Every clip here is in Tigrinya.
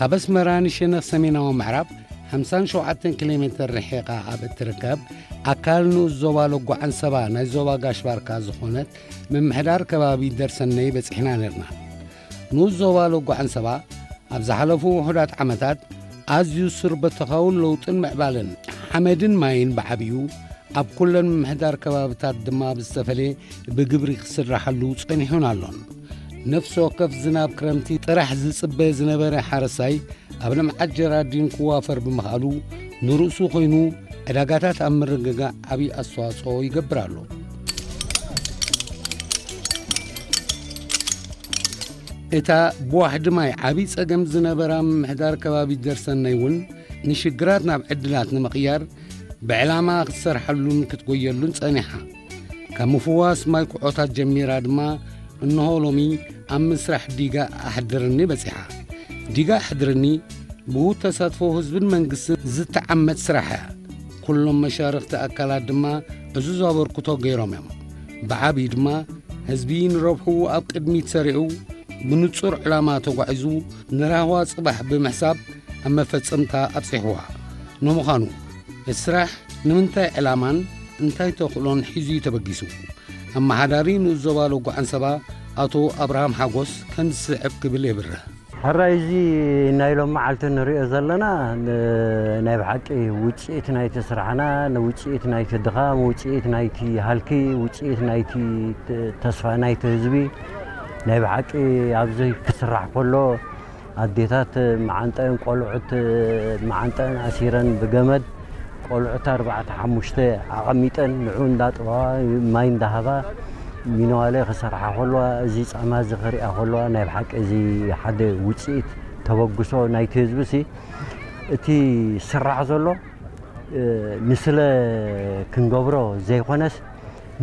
ካብ ኣስመራ ንሸነኽ ሰሜናዊ ምዕራብ ሓምሳን ሸውዓተን ኪሎ ሜትር ርሒቓ ኣብ እትርከብ ኣካል ንኡስ ዞባ ሎጎ ዓንሰባ ናይ ዞባ ጋሽ ባርካ ዝኾነት ምምሕዳር ከባቢ ደርሰነይ በጺሕና ነርና። ንኡስ ዞባ ሎጎ ዓንሰባ ኣብ ዝሓለፉ ውሑዳት ዓመታት ኣዝዩ ሱር በተኻውን ለውጥን ምዕባለን ሓመድን ማይን ብዓብዩ ኣብ ኩለን ምምሕዳር ከባብታት ድማ ብዝተፈለየ ብግብሪ ክስራሓሉ ጸኒሑን ኣሎን። ነፍሲ ወከፍ ዝናብ ክረምቲ ጥራሕ ዝጽበ ዝነበረ ሓረሳይ ኣብ ልምዓት ጀራዲን ክዋፈር ብምኽኣሉ ንርእሱ ኮይኑ ዕዳጋታት ኣብ ምርግጋእ ዓብዪ ኣስተዋጽኦ ይገብር ኣሎ። እታ ብዋሕዲ ማይ ዓብዪ ጸገም ዝነበራ ምምሕዳር ከባቢ ደርሰነይ እውን ንሽግራት ናብ ዕድላት ንምቕያር ብዕላማ ክትሰርሓሉን ክትጎየሉን ጸኒሓ። ካብ ምፍዋስ ማይ ኩዖታት ጀሚራ ድማ እንሆ ሎሚ ኣብ ምስራሕ ዲጋ ኣሕድርኒ በጺሓ። ዲጋ ኣሕድርኒ ብውሁድ ተሳትፎ ህዝብን መንግስትን ዝተዓመት ስራሕ እያ። ኩሎም መሻርኽቲ ኣካላት ድማ ዕዙዝ ኣበርክቶ ገይሮም እዮም። ብዓብዪ ድማ ህዝቢ ንረብሕኡ ኣብ ቅድሚት ሰሪዑ ብንጹር ዕላማ ተጓዒዙ ንራህዋ ጽባሕ ብምሕሳብ ኣብ መፈጸምታ ኣብጺሕዋ። ንምዃኑ እቲ ስራሕ ንምንታይ ዕላማን እንታይ ተኽእሎን ሒዙ እዩ ተበጊሱ? ኣመሓዳሪ ንኡስ ዞባ ሎጎ ዓንሰባ ኣቶ ኣብርሃም ሓጎስ ከምዚ ዝስዕብ ክብል የብርህ። ሕራይ እዚ ናይ ሎም መዓልቲ ንሪኦ ዘለና ን-፣ ናይ ብሓቂ ውፅኢት ናይቲ ስራሕና፣ ንውፅኢት ናይቲ ድኻም፣ ውፅኢት ናይቲ ሃልኪ፣ ውፅኢት ናይቲ ተ-፣ ተስፋ ናይቲ ህዝቢ ናይ ብሓቂ ኣብዚ ክስራሕ ከሎ ኣዴታት መዓንጠአን ቆልዑት መዓንጠአን ኣሲረን ብገመድ ቆልዑት ኣርባዕተ ሓሙሽተ ኣቐሚጠን ንዑ እንዳጥበዋ ማይ እንዳሃባ ሚነዋለ ክሰርሓ ከለዋ፣ እዚ ጻማ እዚ ክሪኣ ከለዋ፣ ናይ ብሓቂ እዚ ሓደ ውጽኢት ተበግሶ ናይቲ ህዝቢ ሲ፣ እቲ ስራሕ ዘሎ፣ እ፣ ንስለ ክንገብሮ ዘይኮነስ፣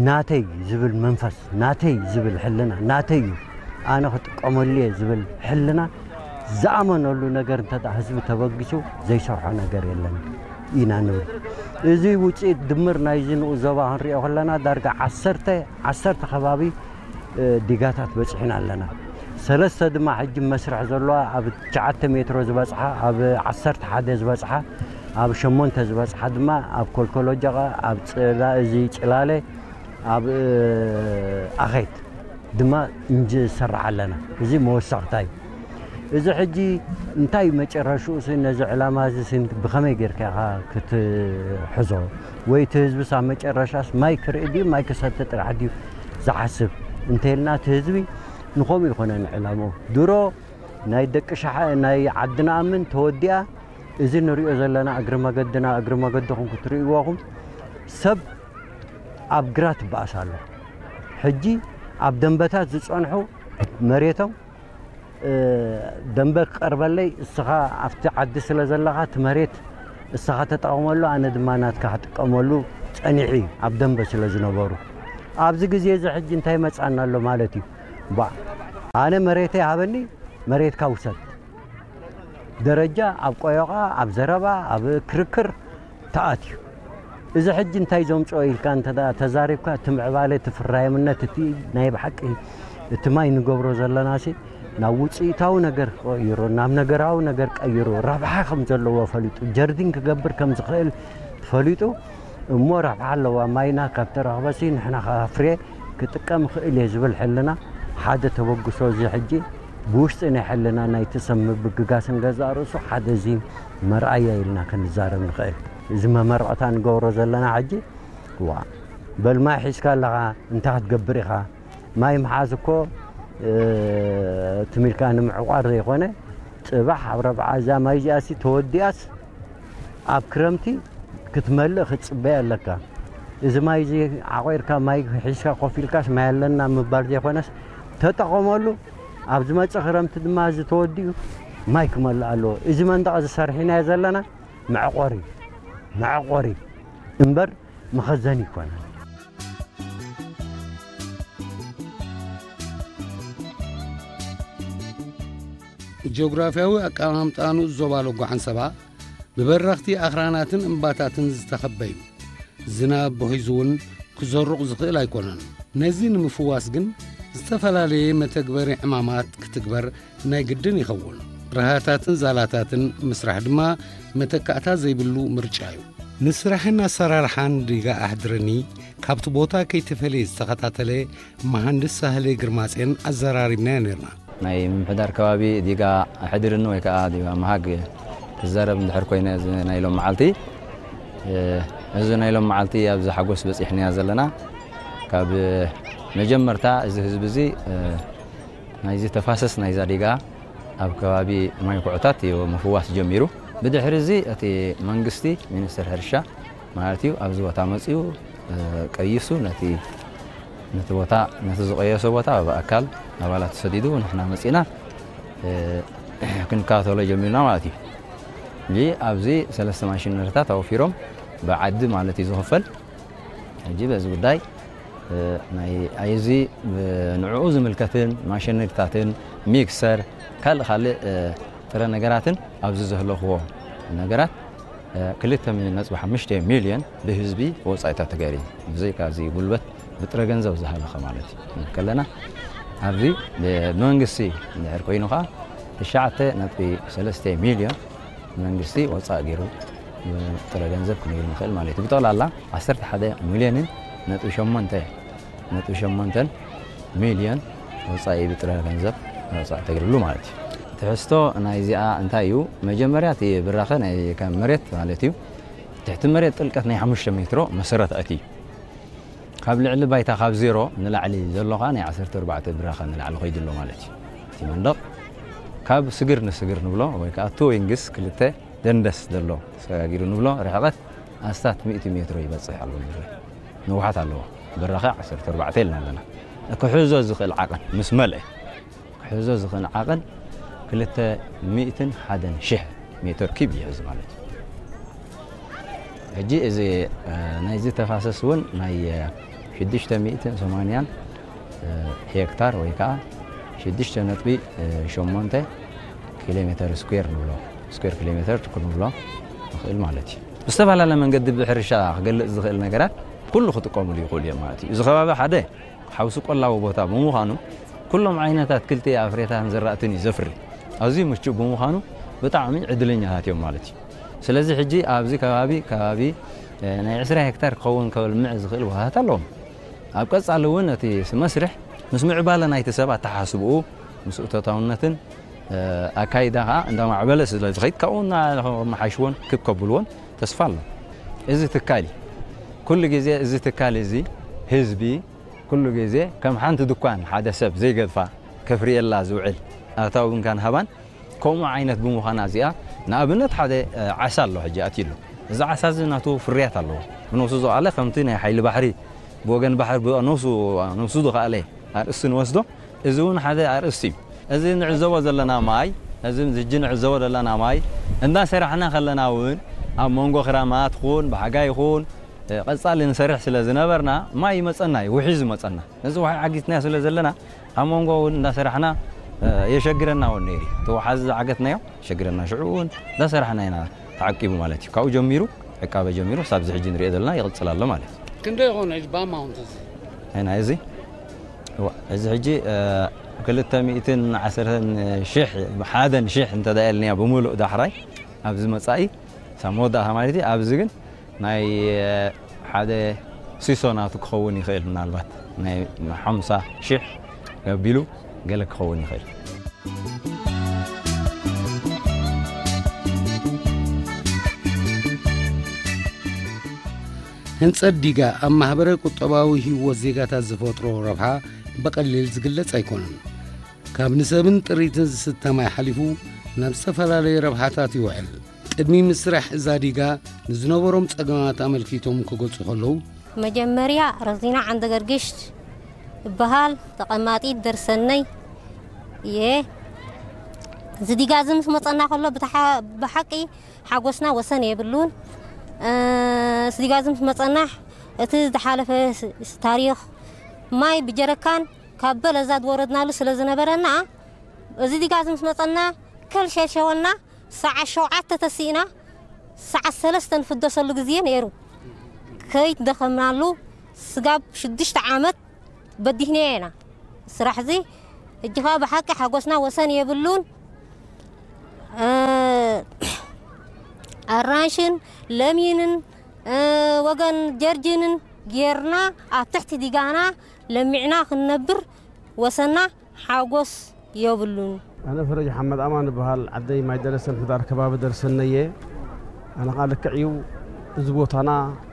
ናተይ ዝብል መንፈስ፣ ናተይ ዝብል ሕልና፣ ናተይ እዩ፣ ኣነ ክጥቀመሉ እየ ዝብል ሕልና ዝኣመነሉ ነገር እንተ ደኣ ህዝቢ ተበጊሱ ዘይሰርሖ ነገር የለን ኢና ንብል። እዚ ውጽኢት ድምር ናይዚ ንኡስ ዞባ ክንሪኦ ከለና ዳርጋ ዓሰርተ፣ ዓሰርተ ከባቢ፣ እ፣ ዲጋታት በጺሕና ኣለና። ሰለስተ ድማ ሕጂ መስርሕ ዘለዋ ኣብ ትሽዓተ ሜትሮ ዝበጽሓ፣ ኣብ ዓሰርተ ሓደ ዝበጽሓ፣ ኣብ ሸሞንተ ዝበጽሓ ድማ ኣብ ኮልኮሎጀቐ፣ ኣብ ጽላ-፣ እዚ ጽላለ፣ ኣብ፣ እ፣ ኣኼት ድማ እንሰርሕ ኣለና። እዚ መወሰኽታ እዩ። እዚ ሕጂ እንታይ መጨረሽኡ ሲ፣ ነዚ ዕላማ እዚ ሲ ብኸመይ ጌርካ ኢኻ ክትሕዞ? ወይ እቲ ህዝብስ ኣብ መጨረሻስ ማይ ክርኢ ድዩ፣ ማይ ክሰቲ ጥራሕ ድዩ ዝሓስብ? እንተኢልና እቲ ህዝቢ ንኸምኡ ይኾነን ዕላምኡ። ድሮ ናይ ደቂ ሻሓ-፣ ናይ ዓድና ኣምን ተወዲኣ፣ እዚ ንሪኦ ዘለና እግሪ መገድና፣ እግሪ መገድኹም ክትርእይዎ ኢኹም። ሰብ ኣብ ግራት ይበኣስ ኣሎ። ሕጂ ኣብ ደንበታት ዝጸንሑ መሬቶም፣ እ፣ ደንበ ክቐርበለይ፣ እስኻ ኣብቲ ዓዲ ስለ ዘለኻ፣ እቲ መሬት እስኻ ተጠቐመሉ፣ ኣነ ድማ ናትካ ክጥቀመሉ ጸኒሑ እዩ፣ ኣብ ደንበ ስለ ዝነበሩ። ኣብዚ ግዜ እዚ ሕጂ እንታይ መጻና ኣሎ ማለት እዩ? ባ፣ ኣነ መሬተይ ሃበኒ፣ መሬትካ ውሰድ። ደረጃ ኣብ ቆዮቓ፣ ኣብ ዘረባ፣ ኣብ ክርክር ተኣትዩ። እዚ ሕጂ እንታይ ዘምጽኦ ኢልካ እንተ ደኣ ተዛሪብካ፣ እቲ ምዕባለ፣ እቲ ፍራይምነት፣ እቲ ናይ ብሓቂ እቲ ማይ ንገብሮ ዘለናሲ ናብ ውጽኢታዊ ነገር ቀይሩ፣ ናብ ነገራዊ ነገር ቀይሩ፣ ረብሓ ከም ዘለዎ ፈሊጡ፣ ጀርዲን ክገብር ከም ዝኽእል ፈሊጡ፣ እሞ ረብሓ ኣለዋ፣ ማይና ካብ ተረኽበሲ ንሕና ከፍርየ ክጥቀም እኽእል እየ ዝብል ሕልና ሓደ ተበግሶ። እዚ ሕጂ ብውሽጢ ናይ ሕልና ናይቲ ሰብ ምብግጋስን ገዛእ ርእሱ ሓደ እዚ መርኣያ ኢልና ክንዛረብ ንኽእል። እዚ መመረቕታ ንገብሮ ዘለና ሕጂ፣ ዋ፣ በል ማይ ሒዝካ ኣለኻ፣ እንታይ ክትገብር ኢኻ? ማይ ምሓዝ እኮ፣ እ፣ ትም ኢልካ ንምዕቋር ዘይኮነ፣ ጽባሕ ኣብ ረብዓ እዛ ማይ እዚኣሲ ተወዲኣስ ኣብ ክረምቲ ክትመልእ ክትጽበይ ኣለካ። እዚ ማይ እዚ ዓቑርካ፣ ማይ ሒዝካ ኮፍ ኢልካስ ማይ ኣለና ምባል ዘይኮነስ፣ ተጠቐመሉ። ኣብ ዝመጽእ ክረምቲ ድማ እዚ ተወዲኡ ማይ ክመልእ ኣለዎ። እዚ መንደቕ እዚ ሰርሒናዮ ዘለና መዕቆሪ፣ መዕቆሪ እምበር መኸዘኒ ኣይኮነን። ጂኦግራፍያዊ ኣቀማምጣ ንኡስ ዞባ ሎጎ ዓንሰባ ብበረኽቲ ኣኽራናትን እምባታትን ዝተኸበ እዩ። ዝናብ ብሒዙ እውን ክዘሩቕ ዝኽእል ኣይኮነን። ነዚ ንምፍዋስ ግን ዝተፈላለየ መተግበሪ ዕማማት ክትግበር ናይ ግድን ይኸውን። በረሃታትን ዛላታትን ምስራሕ ድማ መተካእታ ዘይብሉ ምርጫ እዩ። ንስራሕን ኣሰራርሓን ዲጋ ኣሕድረኒ ካብቲ ቦታ ከይተፈለየ ዝተኸታተለ መሃንድስ ሳህለ ግርማጼን ኣዘራሪብናዮ ነርና። ናይ ምምሕዳር ከባቢ ዲጋ ኣሕድርኒ ወይ ከዓ ዲጋ መሃግ ክዛረብ እንድሕር ኮይነ፣ እዚ ናይ ሎም መዓልቲ፣ እ፣ እዚ ናይ ሎም መዓልቲ ኣብዚ ሓጎስ በፂሕናያ ዘለና። ካብ መጀመርታ እዚ ህዝቢ እዚ፣ እ፣ ናይዚ ተፋሰስ ናይዛ ዲጋ ኣብ ከባቢ ማይ ኩዕታት እዩ ምፍዋስ ጀሚሩ። ብድሕሪ እዚ እቲ መንግስቲ፣ ሚኒስትር ሕርሻ ማለት እዩ፣ ኣብዚ ቦታ መፂኡ፣ እ፣ ቀይሱ ነቲ፣ ነቲ ቦታ፣ ነቲ ዝቀየሶ ቦታ ብኣካል ኣባላት ተሰዲዱ ንሕና መፂና፣ እ፣ ክንከታተሎ ጀሚርና ማለት እዩ። እዚ ኣብዚ ሰለስተ ማሽነሪታት ኣወፊሮም ብዓዲ ማለት እዩ ዝኽፈል። ሕጂ በዚ ጉዳይ፣ እ፣ ናይ ኣይዚ፣ እ፣ ንዕኡ ዝምልከትን ማሽነሪታትን ሚክሰር ካልእ ካልእ፣ እ፣ ጥረ ነገራትን ኣብዚ ዘህለኽዎ ነገራት፣ እ፣ ክልተ ነጥቢ ሓሙሽተ ሚልዮን ብህዝቢ ወጻኢታት ተገይሩ፣ ብዘይካ እዚ ጉልበት ብጥረ ገንዘብ ዝሃለኸ ማለት እዩ። ከለና ኣብዚ ብመንግስቲ እንድሕር ኮይኑ ኸዓ ትሽዓተ ነጥቢ ሰለስተ ሚልዮን መንግስቲ ወጻኢ ገይሩ ጥረ ገንዘብ ክንብል ንኽእል ማለት እዩ። ብጠቕላላ ዓሰርተ ሓደ ሚልዮንን ነጥቢ ሸሞንተ፣ ነጥቢ ሸሞንተን ሚልዮን ወጻኢ ብጥረ ገንዘብ ወጻኢ ተገይሩሉ ማለት እዩ። ትሕዝቶ ናይዚኣ እንታይ እዩ? መጀመርያ እቲ ብራኸ ናይ ካብ መሬት ማለት እዩ። ትሕቲ መሬት ጥልቀት ናይ ሓሙሽተ ሜትሮ መሰረት ኣትዩ። ካብ ልዕሊ ባይታ ካብ ዜሮ ንላዕሊ ዘሎ ኸዓ ናይ ዓሰርተ ኣርባዕተ ብራኸ ንላዕሊ ኸይዱ ኣሎ ማለት እዩ። እቲ መንደቕ ካብ ስግር ንስግር ንብሎ ወይ ከዓ ቱ ዊንግስ ክልተ ደንደስ ዘሎ ተሰጋጊሩ ንብሎ ርሕቐት ኣስታት ሚእቲ ሜትሮ ይበጽሕ ኣሎ። ንውሓት ኣለዎ። ብራኸ ዓሰርተ ኣርባዕተ ኢልና ኣለና። ክሕዞ ዝኽእል ዓቐን ምስ መልአ ክሕዞ ዝኽእል ዓቐን ክልተ ሚእትን ሓደን ሽሕ ሜትር ኪብ ይሕዝ ማለት እዩ። ሕጂ እዚ፣ እ፣ ናይዚ ተፋሰስ እውን ናይ፣ እ፣ ሽዱሽተ ሚእትን ሰማንያን፣ እ፣ ሄክታር ወይ ከዓ ሽዱሽተ ነጥቢ ሸሞንተ ኪሎ ሜትር ስኩዌር ንብሎ፣ ስኩዌር ኪሎ ሜትር ክንብሎ ንኽእል ማለት እዩ። ብዝተፈላለየ መንገዲ ብሕርሻ ክገልጽ ዝኽእል ነገራት ኩሉ ክጥቀሙሉ ይኽእሉ እዮም ማለት እዩ። እዚ ከባቢ ሓደ ሓውሲ ቆላዊ ቦታ ብምዃኑ፣ ኩሎም ዓይነታት ኣትክልቲ፣ ፍረታትን ዝራእትን እዩ ዘፍሪ። ኣዝዩ ምቹእ ብምዃኑ፣ ብጣዕሚ ዕድለኛታት እዮም ማለት እዩ። ስለዚ ሕጂ ኣብዚ ከባቢ፣ ከባቢ፣ እ፣ ናይ ዕስራ ሄክታር ክኸውን ከልምዕ ዝኽእል ቦታታት ኣለዎም። ኣብ ቀጻሊ እውን እቲ መስርሕ ምስ ምዕባለ ናይቲ ሰብ ኣተሓሳስብኡ፣ ምስ እቶታውነትን፣ እ፣ ኣካይዳ ከዓ እንዳማዕበለ ስለ ዝኸይድ፣ ካብኡ እናመሓይሽዎን ክብ ከብልዎን ተስፋ ኣሎ። እዚ ትካል እዩ። ኩሉ ግዜ እዚ ትካል እዚ ህዝቢ ኩሉ ግዜ ከም ሓንቲ ድኳን ሓደ ሰብ ዘይገድፋ ከፍርየላ ዝውዕል ኣታዊ እንካን ሃባን ከምኡ ዓይነት ብምዃና እዚኣ፣ ንኣብነት ሓደ፣ እ፣ ዓሳ ኣሎ ሕጂ ኣትዩ ኣሎ። እዚ ዓሳ እዚ ናቱ ፍርያት ኣለዎ። ብነብሱ ዝኸኣለ ከምቲ ናይ ሓይሊ ባሕሪ ብወገን ባሕሪ ብነብሱ፣ ነብሱ ዝኸኣለ ኣርእስቲ ንወስዶ። እዚ እውን ሓደ ኣርእስቲ እዩ። እዚ ንዕዘቦ ዘለና ማይ፣ እዚ ሕጂ ንዕዘቦ ዘለና ማይ እንዳሰራሕና ከለና እውን ኣብ መንጎ ክራማት ኹን ብሓጋይ ይኹን፣ እ፣ ቀጻሊ ንሰርሕ ስለ ዝነበርና ማይ ይመጸና እዩ፣ ውሒ ዝመጸና። ነዚ ውሒ ዓጊትናዮ ስለ ዘለና ኣብ መንጎ እውን እንዳሰራሕና፣ እ፣ የሸግረና እውን ነይሩ። እቲ ወሓዚ ዝዓገትናዮ የሸግረና። ሽዑ እውን እንዳሰራሕና ኢና ተዓቂቡ ማለት እዩ። ካብኡ ጀሚሩ፣ ዕቃበ ጀሚሩ፣ ሳብ እዚ ሕጂ ንሪኦ ዘለና ይቕጽል ኣሎ ማለት እዩ። ክንደይ ይኾን ሕጂ ብኣማውንት እዚ? ኣይና እዚ? እዋ፣ እዚ ሕጂ፣ እ፣ ክልተ ሚእትን ዓሰርተን ሽሕ፣ ሓደን ሽሕ እንተ ደኣ ኢልናዮ ብምሉእ ዳሕራይ፣ ኣብዚ መጻኢ፣ ሳብ መወዳእታ ማለት እዩ። ኣብዚ ግን ናይ፣ እ፣ ሓደ ሲሶ ናቱ ክኸውን ይኽእል፣ ምናልባት ናይ ሓምሳ ሽሕ ገቢሉ ገለ ክኸውን ይኽእል። ህንጸት ዲጋ ኣብ ማህበረ ቁጠባዊ ህይወት ዜጋታት ዝፈጥሮ ረብሓ ብቐሊል ዝግለጽ ኣይኮነን። ካብ ንሰብን ጥሪትን ዝስተ ማይ ሓሊፉ ናብ ዝተፈላለዩ ረብሓታት ይውዕል። ቅድሚ ምስራሕ እዛ ዲጋ ንዝነበሮም ጸገማት ኣመልኪቶም ክገልጹ ከለዉ፣ መጀመርያ ረዚና ዓንደ ገርግሽ እበሃል፣ ተቐማጢት ደርሰነይ እየ። እዚ ዲጋ እዚ ምስ መጸና ከሎ ብተሓ-፣ ብሓቂ ሓጎስና ወሰን የብሉን። እ፣ እዚ ዲጋ እዚ ምስ መጸና እቲ ዝሓለፈ ስ-፣ ስ-፣ ታሪኽ ማይ ብጀረካን ካብ በለዛ ዝወረድናሉ ስለ ዝነበረና፣ እዚ ዲጋ እዚ ምስ መጸና ከልሸሸወና፣ ሰዓት ሸውዓተ ተሲእና ሰዓት ሰለስተ ንፍደሰሉ ግዜ ነይሩ። ከይደኸምናሉ ስጋብ ሽዱሽተ ዓመት በዲህናዮ ኢና። ስራሕ እዚ ሕጂ ኸኣ ብሓቂ ሓጎስና ወሰን የብሉን። እ፣ ኣራንሽን ለሚንን፣ እ፣ ወገን ጀርጅንን ጌርና ኣብ ትሕቲ ዲጋና ለሚዕና ክንነብር ወሰና ሓጎስ የብሉን። ኣነ ፈረጅ ሓመድ ኣማን እበሃል። ዓደይ ማይ ደረሰ፣ ምሕዳር ከባቢ ደርሰነየ። ኣነ ኸዓ ልክዕ እዩ፣ እዚ ቦታና